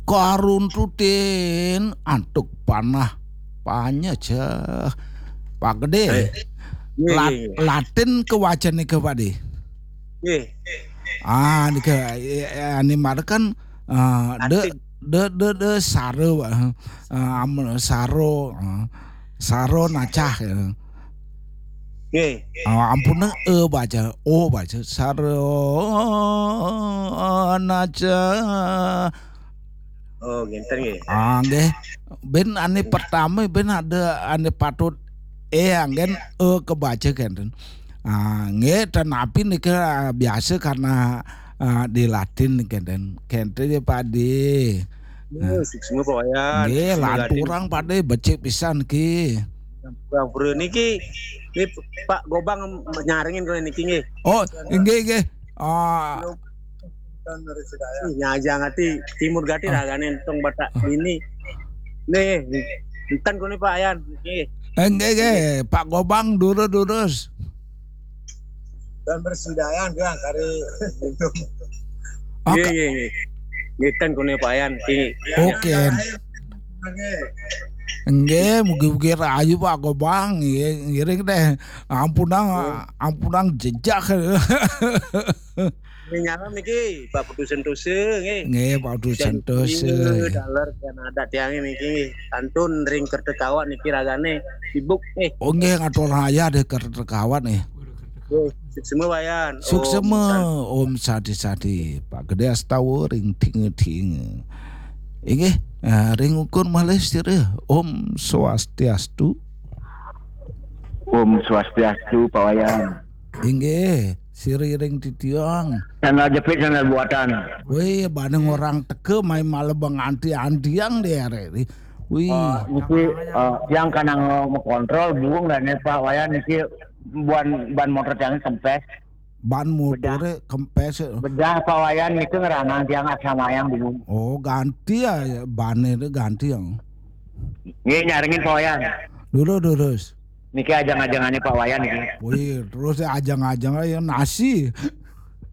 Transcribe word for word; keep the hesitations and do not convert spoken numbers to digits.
karuntutin antuk panah panyeceh. Pak Gede. Latin kewacen nika, Pak De. Ah, nika, eh, eh, ane mara kan, eh, de, de, de, de, saro, eh, eh, am-, saro, eh, saro nacah, eh. Ah, ampun, eh, baca, oh, baca, saro nacah. Oh, ngenten nggih. Ah, nggih. Ben ane pertama, ben ada ane patut, eh, anggen, eh, kebaca kenten. Ah, nggih, tanapi nika, ah, biasa karena, ah, di Latin kenten. Kenten ya, Pak De. Nah. Suksma, Pak Wayan. Nggih, lanturang, Pak De, becik pisan ki. Bang Bro niki, ini Pak Gobang nyarengin kula niki nggih. Oh, nggih, nggih. Ah, Ih, nyajang ati timur gati ragane tong Batak ini. Nih, enten kone Pak Yan. Nggih. Eh, nggih, nggih. Pak Gobang durus-durus. Dan bersidayan dia kari. Nggih, nggih, nggih. Nggih, enten kone Pak Yan. Nggih. Oke. Nggih, mugi-mugi rahayu Pak Gobang, nggih, ngiring deh. Ampunang, ampunang jejak. Nggih, nyalam niki, Pak Putu Sentosa, nggih. Nggih, Pak Putu Sentosa. Daler kan ada tiang niki, nggih. Kantun ring Kertekawat niki ragane sibuk, nggih. Oh, nggih, ngatur raya deh Kertekawat, nggih. Nggih, suksma Wayan. Suksma, Om Sadi Sadi. Pak Gede Astawa ring tinga-tinga. Inggih, eh, ring ukur malih sira. Om Swastiastu. Om Swastiastu, Pak Wayan. Inggih, sira ring titiang. Sandal jepit, sandal buatan. Wih, bane ngorang teka mai malah benganti-antiang deh arek ni. Wih. Eh, niki, eh, tiang kanang mengontrol burung dan Pak Wayan niki ban, ban motor tiang kempes. Ban motore kempes. Bedah Pak Wayan niki ngeranang tiang asa mayang bingung. Oh, ganti ya, bane itu ganti yang. Nggih, nyarengin Pak Wayan. Dulu, terus. Niki ajang-ajangane Pak Wayan niki. Wih, terus ya ajang-ajang ya nasi.